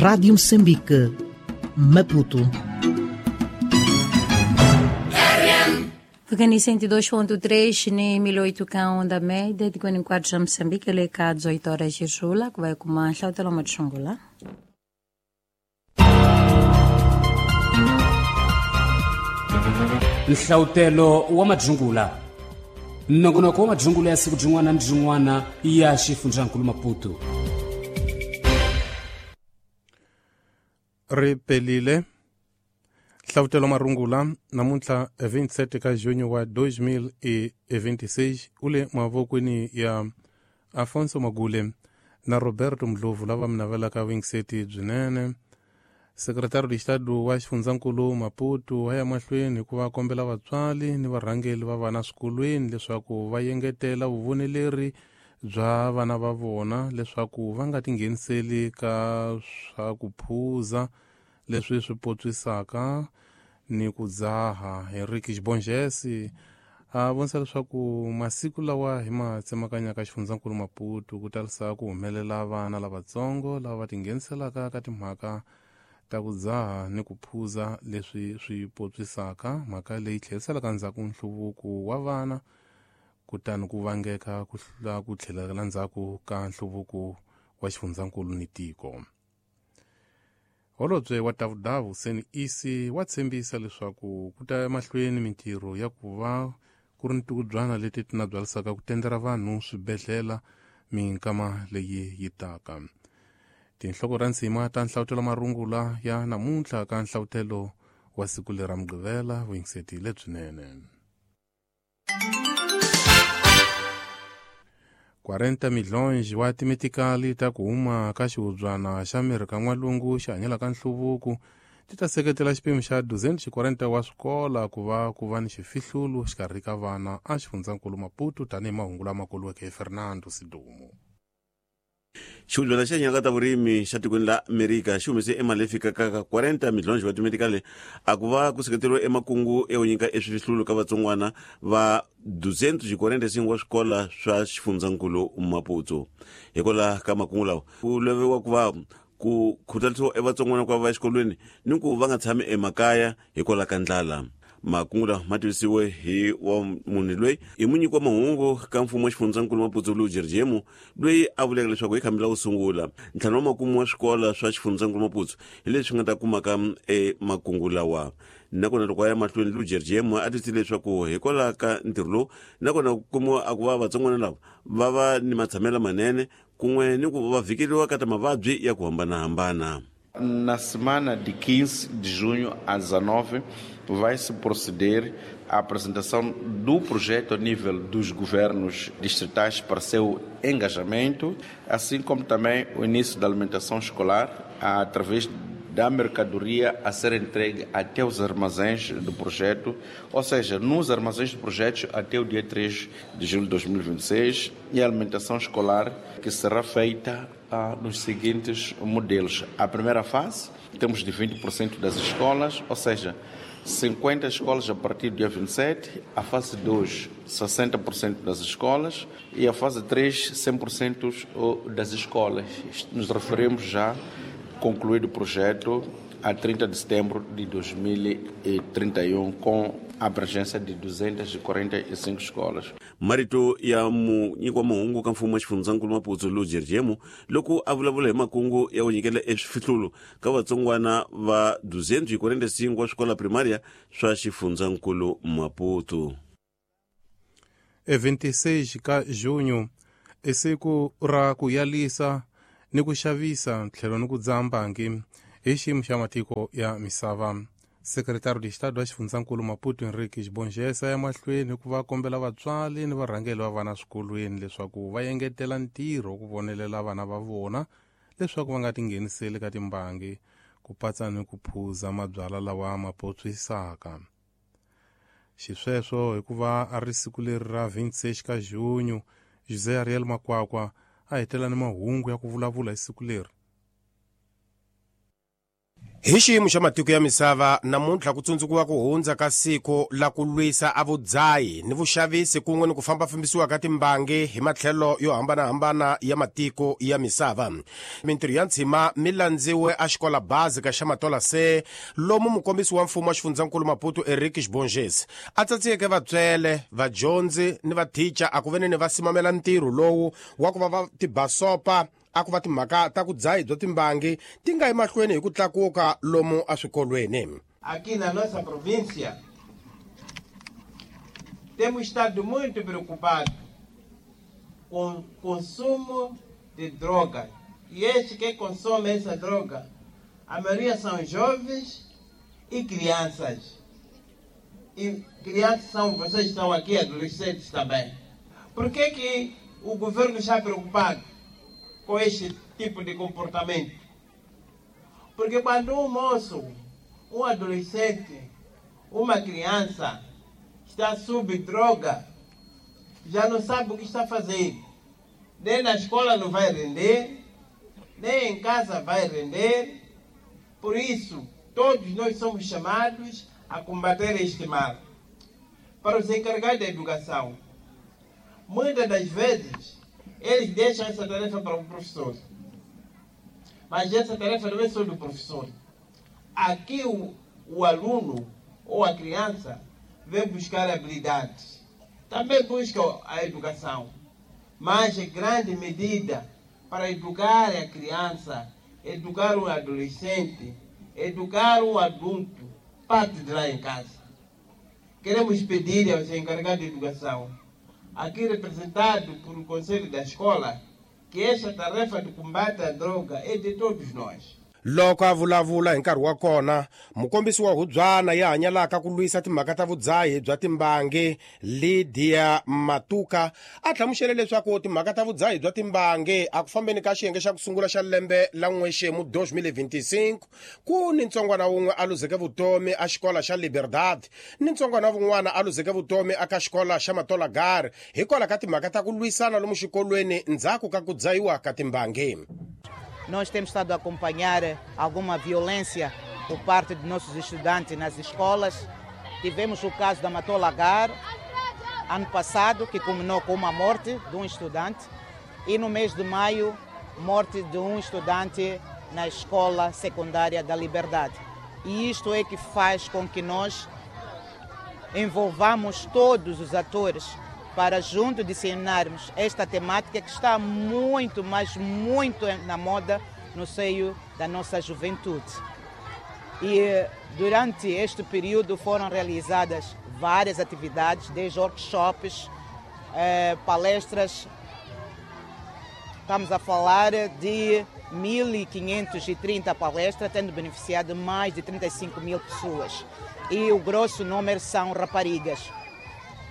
Rádio Moçambique, Maputo. Fikani 102.3 ni 1008 ka onda média de 44 já Moçambique, ele cá 18 horas de Jula, que vai com uma hlautela uma tshungula. Nhlautelo wa madzungula nongonoko wa madzungula ya siku byin'wana ni byin'wana ya xifundzankulu Maputo. Ri pelile hlavutelo marungula namuntlha 27 ka junho wa 2026 u le mavokweni ya Afonso Magule na Roberto Mdlovu lava mi navelaka vingiseti byinene. Sekretari de Estado wa xifundzankulu Maputo wa ya mahlweni hikuva kombela vatswari ni varhangeli va vana swikolweni leswaku va yengetela vuvoneleri bya vana va vona leswaku va nga tingheniseli ka swa ku phuza leswi swi potswisaka ni ku dzaha. Henrique Xibonjesi a vonisa leswaku masiku lawa hi ma tsemakanyaka xifundzankulu Maputo ku talisa ku humelela vana lavatsongo lava va tingheniselaka ka timhaka ta ku dzaha ni ku phuza leswi swi potswisaka, mhaka leyi tlheriselaka ndzhaku nhluvuko wa vana kutani ku vangeka ku hlula ku tlhelela ndzhaku ka nhluvuko wa xifundzankulu ni tiko. Holobye wa Davudavu Seni Isi wa tshembisa leswaku ku ta emahlweni mintirho ya ku va ku ri ni tikubyana leti ti na byalisaka ku tendera vanhu swibedhlele minkama leyi yi taka. Tinhloko ra nsima ta nhlavutelo marungula ya namuntlha ka nhlavutelo wa siku lera Mugqivela vuyingiseti lebyinene. 40 milhões wa timetikali ta ku huma ka xihubyana xa miri ka n'walungu xi hanyelaka nhluvuko ti ta seketela xipimo xa 240 wa swikola ku va ku va ni xifihlulo xikarhi ka vana a xifundzankulu Maputo tanihi mahungu lama koliweke hi Fernando Sidumo. Xihubyana xa nyaka ta vurimi xa tikweni la Amerika xi humese emali leyi fikaka ka 40 milhões wa timetikali a ku va ku seketeriwa emakungu ya ku nyika eswifihlulo ka vatsongwana va 245 wa swikola swa xifundzankulu Maputo. Hikwalaho ka makungu lawa ku laviwa ku va ku khutaliwa evatsongwana ku va va exikolweni ni ku va nga tshami emakaya hikwalaho ka ndlala. Makungu lawa ma tivisiwe hi wa munhu loyi hi munyiki wa mahungu ka mfumo wa xifundzankulu Maputo Lujerjemu loyi a vuleke leswaku hi khambi la ku sungula ntlhanu wa makumu wa swikola swa xifundzankulu Maputo hi leswi nga ta kumaka emakungu lawa. Nakona loko a ya mahlweni Lujerjemu a twisile leswaku hikwalaho ka ntirho lowu nakona ku kumiwa a ku va vatsongwana lava va va ni matshamelo manene kun'we ni ku va vhikeriwa ka ta mavabyi ya ku hambanahambana. Na semana de 15 de junho a 19, vai-se proceder à apresentação do projeto a nível dos governos distritais para seu engajamento, assim como também o início da alimentação escolar através da mercadoria a ser entregue até os armazéns do projeto, ou seja, nos armazéns do projeto até o dia 3 de julho de 2026, e a alimentação escolar que será feita nos seguintes modelos. A primeira fase, temos de 20% das escolas, ou seja, 50 escolas a partir do dia 27, a fase 2, 60% das escolas e a fase 3, 100% das escolas. Nos referimos já concluído o projeto a 30 de setembro de 2031, com a abrangência de 245 escolas. Marito ya munyiki wa mahungu ka mfumo wa xifundzankulu Maputo Lujerjemu loko a vulavula hi makungu ya ku nyikela eswifihlulo ka vatsongwana va 245 wa swikola primaria swa xifundzankulu Maputo. 26 ka junho i siku ra ku yalisa ni ku xavisa tlhelo ni ku dzaha mbangi hi xiyimo xa matiko ya misava. Sekretari de Estado wa xifundzankulu Maputo Henrique Xibonjesa ya mahlweni ku va kombela vatswari ni varhangeli va vana swikolweni leswaku va yengetela ntirho ku vonelela vana va vona leswaku va nga tingheniseli ka timbangi ku patsa ni ku phuza mabyalwa lawa ma potswisaka. Xisweswo hikuva a ri siku leri ra 26 ka junho, José Ariel Makwakwa a hetela ni mahungu ya ku vulavula hi siku leri. Hi xiyimo xa matiko ya misava namuntlha ku tsundzukiwa ku hundza ka siku la ku lwisa a vudzayi ni vuxavisi kun'we ni ku fambafambisiwa ka timbangi hi matlhelo yo hambanahambana ya matiko ya misava. Mintirho ya ntshima mi landziwe a xikola bazi ka xa Matola se lomu mukombisi wa mfumo wa xifundzankulu Maputo Eric Xibonges a tsatsiyeke vatswele, vadyondzi ni vathicha a ku veneni va simamela ntirho lowu wa ku va va tibasopa a ku va timhaka ta ku dzahi bya timbangi ti nga emahlweni hi ku tlakuka lomu eswikolweni. Aqui na nossa província temos estado muito preocupados com o consumo de drogas. E estes que consomem essa droga, a maioria são jovens e crianças. E crianças são, vocês estão aqui, adolescentes também. Por que que o governo está preocupado com este tipo de comportamento? Porque quando um moço, um adolescente, uma criança está sob droga, já não sabe o que está fazendo. Nem na escola não vai render, nem em casa vai render. Por isso, todos nós somos chamados a combater este mal. Para os encarregados da educação, muitas das vezes, eles deixam essa tarefa para o professor. Mas essa tarefa não é só do professor. Aqui o aluno ou a criança vem buscar habilidades. Também busca a educação. Mas em grande medida, para educar a criança, educar um adolescente, educar um adulto, parte de lá em casa. Queremos pedir aos encarregados de educação, aqui representado por o Conselho da Escola, que esta tarefa de combate à droga é de todos nós. Loko a vulavula hi nkarhi wa kona, mukombisi wa hubyana ya hanyalaka ku lwisa timhaka ta vudzahi bya timbangi Lydia Matuka a hlamusele leswaku timhaka ta vudzahi bya timbangi a ku fambeni ka xiyenge xa ku sungula xa lembe la n'wexemu 2025 ku ni ntsongwana wun'we a luzeke vutomi a xikola xa Liberdade ni ntsongwana wun'wana a luzeke vutomi aka xikola xa Matola Gare hikwalaho ka timhaka ta ku lwisana lomu xikolweni ndzhaku ka ku dzahiwa ka timbangi. Nós temos estado a acompanhar alguma violência por parte de nossos estudantes nas escolas. Tivemos o caso da Matola Gar, ano passado, que culminou com uma morte de um estudante. E no mês de maio, morte de um estudante na escola secundária da Liberdade. E isto é que faz com que nós envolvamos todos os atores para junto disseminarmos esta temática que está muito, mas muito na moda no seio da nossa juventude. E durante este período foram realizadas várias atividades, desde workshops, palestras. Estamos a falar de 1.530 palestras, tendo beneficiado mais de 35 mil pessoas. E o grosso número são raparigas.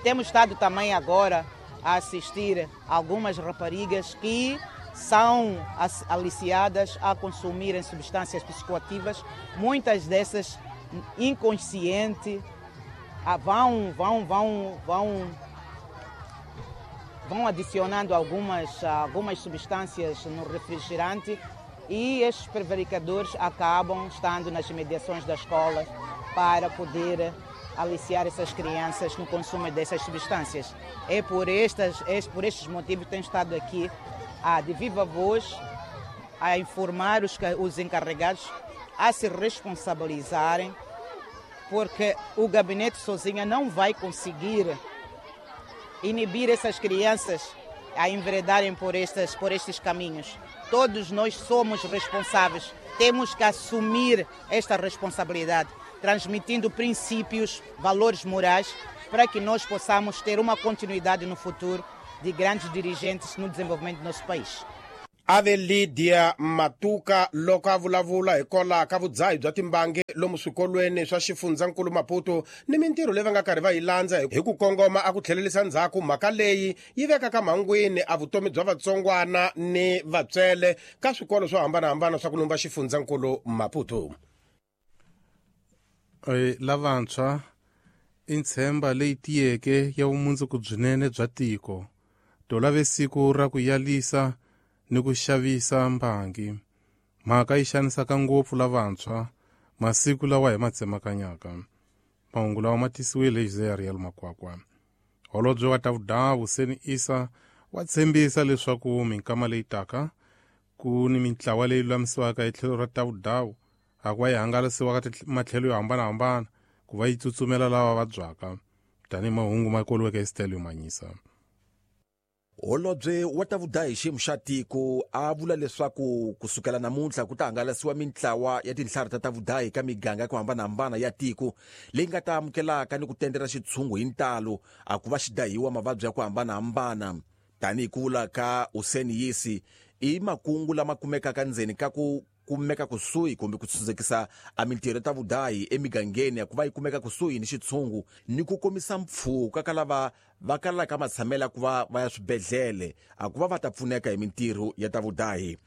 Temos estado também agora a assistir algumas raparigas que são aliciadas a consumirem substâncias psicoativas, muitas dessas inconsciente, vão adicionando algumas substâncias no refrigerante e estes prevaricadores acabam estando nas imediações da escola para poder aliciar essas crianças no consumo dessas substâncias. É por estes motivos que tenho estado aqui de viva voz a informar os encarregados a se responsabilizarem, porque o gabinete sozinho não vai conseguir inibir essas crianças a enveredarem por estes caminhos. Todos nós somos responsáveis, temos que assumir esta responsabilidade, transmitindo princípios, valores morais, para que nós possamos ter uma continuidade no futuro de grandes dirigentes no desenvolvimento do nosso país. Ave Lydia Matuka loko a vulavula hikwalaho ka vudzahi bya timbangi lomu swikolweni swa xifundzankulu Maputo ni mintirho leyi va nga karhi va yi landza hi ku kongoma a ku tlhelerisa ndzhaku mhaka leyi yi vekaka mhangwini a vutomi bya vatsongwana ni vatswele ka swikolo swo hambanahambana swa ku lumba xifundzankulu Maputo. Lavantshwa i ntshemba leyi tiyeke ya vumundzuku byinene bya tiko. To lave siku ra ku yalisa ni ku xavisa mbangi. Mhaka yi xanisaka ngopfu lavantshwa Masiku lawa hi ma tsemakanyaka. Mahungu lawa ma tisiwile hi Jose Ariel Makwakwa. Holobye wa Tavudawu Hussein Issa wa tshembisa leswaku minkama leyi taka ku ni mintlawa leyi lulamisiwaka hi tlhelo ra Tavudawu a ku va yi hangalasiwa ka matlhelo yo hambanahambana ku va yi tsutsumela lava vabyaka tanihi mahungu ma koliweke hi Stelio Manyisa. Holobye wa Tavudayi xiyimo xa tiko a vula leswaku kusukela namuntlha ku ta hangalasiwa mintlawa ya tinhlari ta Tavudayi ka miganga ya ku hambanahambana ya tiko leyi nga ta amukelaka ni ku tendela xitshungu hi ntalo a ku va xi dahiwa mavabyi ya ku hambanahambana. Tanihi ku vula ka Hussein Yisi, i makungu lama kumekaka ndzeni ka ku kumeka kusuhi kumbe ku tsundzukisa a mintirho ya Tavudayi emigangeni ya ku va yi kumeka kusuhi ni xitshungu ni ku komisa mpfhuka ka lava va kalaka matshamela ku va va ya swibedhlele a ku va va ta pfuneka hi mintirho ya Tavudayi.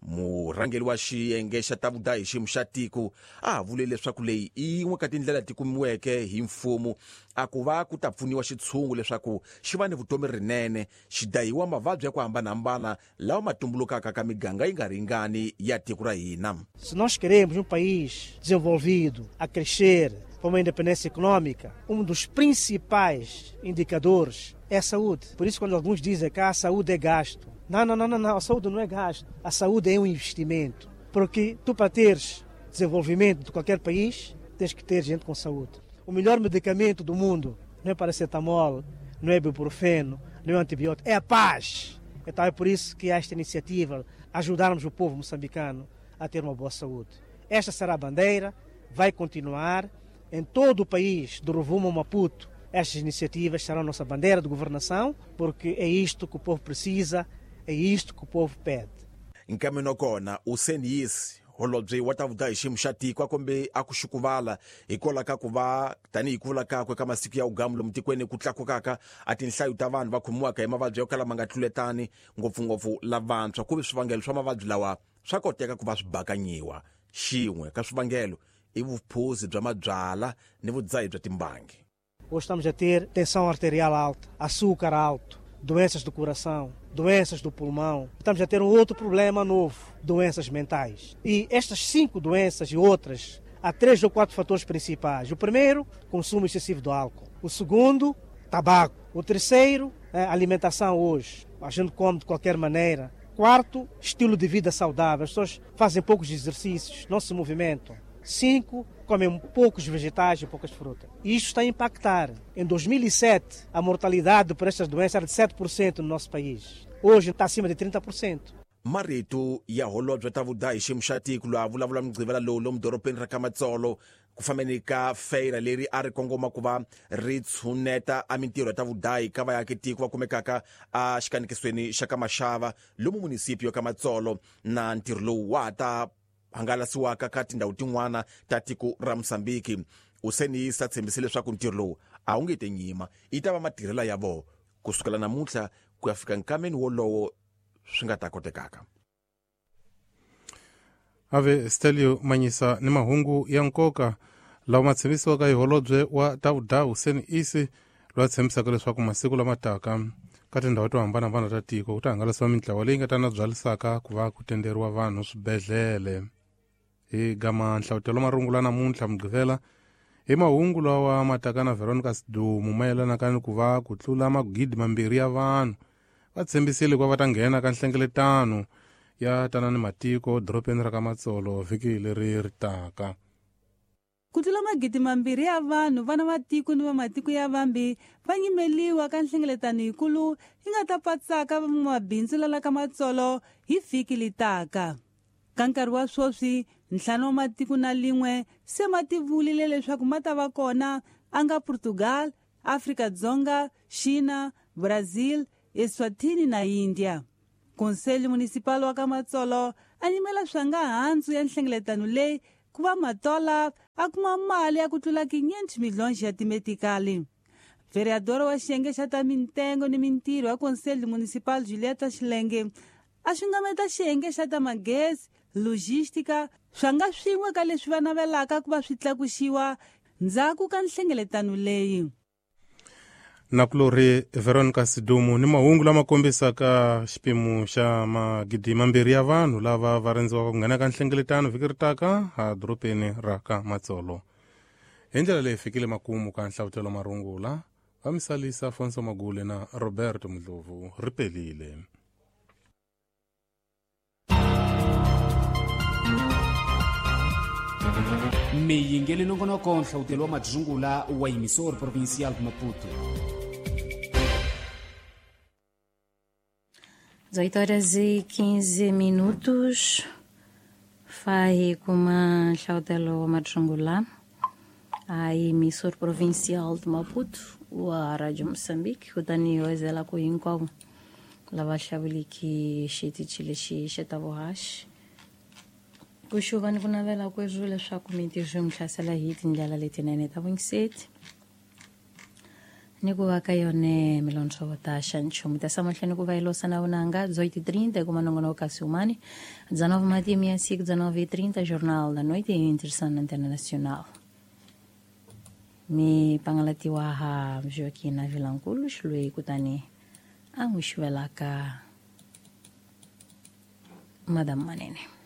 Murhangeri wa xiyenge xa Tavudayi xiyimo xa tiko a ha vule leswaku leyi i yin'we ka tindlela ti kumiweke hi mfumo a ku va ku ta pfuniwa xitshungu leswaku xi va ni vutomi rinene, xi dahiwa mavabyi ya ku hambanahambana lawa ma tumbulukaka ka miganga yi nga ringani ya tiko ra hina. Se nós queremos país desenvolvido, a crescer, para uma independência econômica, dos principais indicadores é a saúde. Por isso, quando alguns dizem que a saúde é gasto, não, não, não, não, a saúde não é gasto. A saúde é investimento. Porque tu, para teres desenvolvimento de qualquer país, tens que ter gente com saúde. O melhor medicamento do mundo não é paracetamol, não é ibuprofeno, não é antibiótico, é a paz. Então é por isso que há esta iniciativa, ajudarmos o povo moçambicano a ter uma boa saúde. Esta será a bandeira, vai continuar em todo o país, do Rovuma ao Maputo. Estas iniciativas serão a nossa bandeira de governação, porque é isto que o povo precisa, é isto que o povo pede. Nkameno kona Hussein Yisi, holobye wa Tavudayi xiyimo xa tiko, a kombe a ku xukuvala hikwalaho ka ku va tanihi ku vula kakwe ka masiku ya ugamu lomu tikweni ku tlakukaka a tinhlayo ta vanhu va khomiwaka hi mavabyi yo kala ma nga tluletani, ngopfungopfu lavantshwa, ku ve swivangelo swa mavabyi lawa swa koteka ku va swi bakanyiwa. Xin'we ka swivangelo i vuphuzi bya mabyala ni vudzahi bya timbangi. Hoje estamos a ter tensão arterial alta, açúcar alto, doenças do coração, doenças do pulmão. Estamos a ter outro problema novo, doenças mentais. E estas 5 doenças e outras, há 3 ou 4 fatores principais. O primeiro, consumo excessivo do álcool. O segundo, tabaco. O terceiro, alimentação hoje. A gente come de qualquer maneira. Quarto, estilo de vida saudável. As pessoas fazem poucos exercícios, não se movimentam. 5, comem poucos vegetais e poucas frutas. E isto está a impactar. Em 2007, a mortalidade por estas doenças era de 7% no nosso país. Hoje está acima de 30%. Marito ya holobye Tavudayi xiyimo xa tiko loyi a vulavula Mugqivela lowu lomu dorobeni ra ka Matsolo ku fambeni ka feira leri a ri kongoma ku va ri tshuneta a mintirho ya Tavudayi ka vaaki tiko va kumekaka a xikanikisweni xa ka Maxava lomu munisipio ya ka Matsolo, na ntirho lowu wa ta hangalasiwaka ka tindhawu tin'wana ta tiko ra Mozambique. Hussein Issa tshembise leswaku ntirho lowu a wu nge te nyima, yi ta va matirhela ya vona kusukela namuntlha ku ya fika nkameni wolowo swi nga ta kotekaka. Ave Stelio Manyisa ni mahungu ya nkoka lawa ma tshembisiwaka hi holobye wa Tavudayi Hussein Issa, loyi a tshembisaka leswaku masiku lama taka ka tindhawu to hambanahambana ta tiko ku ta hangalasiwa mintlawa leyi nga ta na byalisaka ku va ku tenderiwa vanhu swibedhlele. Hi gama nhlavutelo marungula namuntlha Mugqivela hi mahungu lawa ma taka na Veronica Sidumo mayelanaka ni ku va ku tlula 2,000 ya vanhu va tshembisile ku va va ta nghena ka nhlengeletano ya tanani matiko dorobeni ra ka Matsolo vhiki leri ri taka. Ku tlula 2,000 ya vanhu vana va tiko ni va matiko ya vambi va nyimeliwa ka nhlengeletano yikulu yi nga ta patsaka van'wamabindzu lala ka Matsolo hi vhiki litaka. Ka nkarhi wa sweswi, 5 wa matiko na lin'we se ma tivulile leswaku ma ta va kona a nga Portugal, Afrika-Dzonga, China, Brazil, Eswatini na India. Conselho Municipal wa ka Matsolo a nyimela swa nga handzu ya nhlengeletano leyi ku va Matola a kuma mali ya ku tlula 500 milhões ya timetikali. Vereador wa xiyenge xa ta mintengo ni mintirho ya Conselho Municipal Julieta Xilenge a xungameta xiyenge xa ta magezi, logística, swa nga swin'we ka leswi va navelaka ku va swi tlakuxiwa ndzhaku ka nhlengeletano leyi. Nakulorhi Veronica Sidumo ni mahungu lama kombisaka xipimo xa magidi mambirhi ya vanhu lava va rindziwaka ku nghena ka nhlengeletano vhiki ri taka a dorobeni ra ka Matsolo. Hi ndlela leyi fikile makumu ka nhlavutelo marungula va misalisa Afonso Magule na Roberto Mdlovu ri pelile. Miyingeli nongonoko nhlawutelo wa madzungula wa emissor provincial de Maputo. 18 horas e 15 minutos. Fai kuma nhlawutelo wa madzungula a emissor provincial de Maputo wa Radio Moçambique kutani wezela ku hinkwavo lava hlawuliki xitichi lexi xa ta vuhaxi ku xuva ni ku navela kweswo leswaku mintirho mi hlasela hi tindlela letinene ta vungiseti ni ku va ka yone milondzo ta xa nchumu ta samahlweni ku va yi losa na vunanga 18:30 kuma nongonoko kasi umani 19 matimi ya siku 19:30 Jornal da Noite e Interessante na Antena Nacional mi pangalatiwa ha Joaquina Vilankulu xiloyi kutani a n'wi xuvelaka Madam Manene.